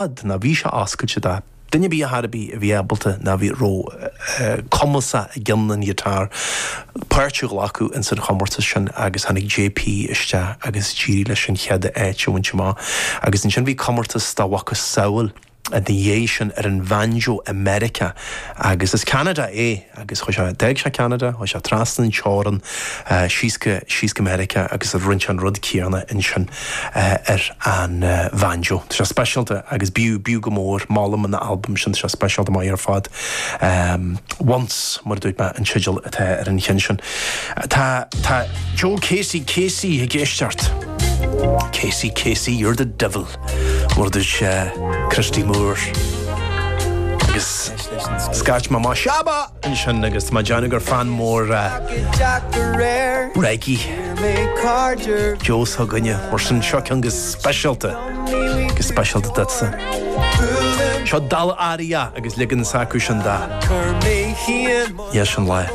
Nó bhí sé oscailte do duine ar bith ar chor ar bith a bhí ábalta nó a bhí raibh cumasach i gcionn an ghiotár páirt a ghlacadh ins an chomórtas sin agus tháinig JP isteach agus d'éirigh leis an chéad áit a bhaint amach. Agus ansin bhí comórtas dá mhacasamhail ina dhiaidh sin ar an bhanjo i Meiriceá agus as Ceanada é agus chuaigh sé, d'fhág sé Ceanada, chuaigh sé trasna an teorann síos go, síos go Meiriceá agus rinne sé an rud céanna ansin ar an bhanjo. Tá sé speisialta agus b'fhiú, b'fhiú go mór, molaim an albam sin, tá sé speisialta maith ar fad. Once, mar a dúirt mé, an teideal atá ar an cheann sin. Tá, tá Joe Casey Casey ag éisteacht. Casey Casey, you're the devil. Mar a dúirt Christy Moore. Agus scairt mé amach Shabba! ansin agus tá mé ag déanamh gur fan mór reggae Joe s'againne mar sin seo ceann go speisialta, go speisialta duitse. Seo Dal Aria agus leagan s'acu sin de. Yes an lá.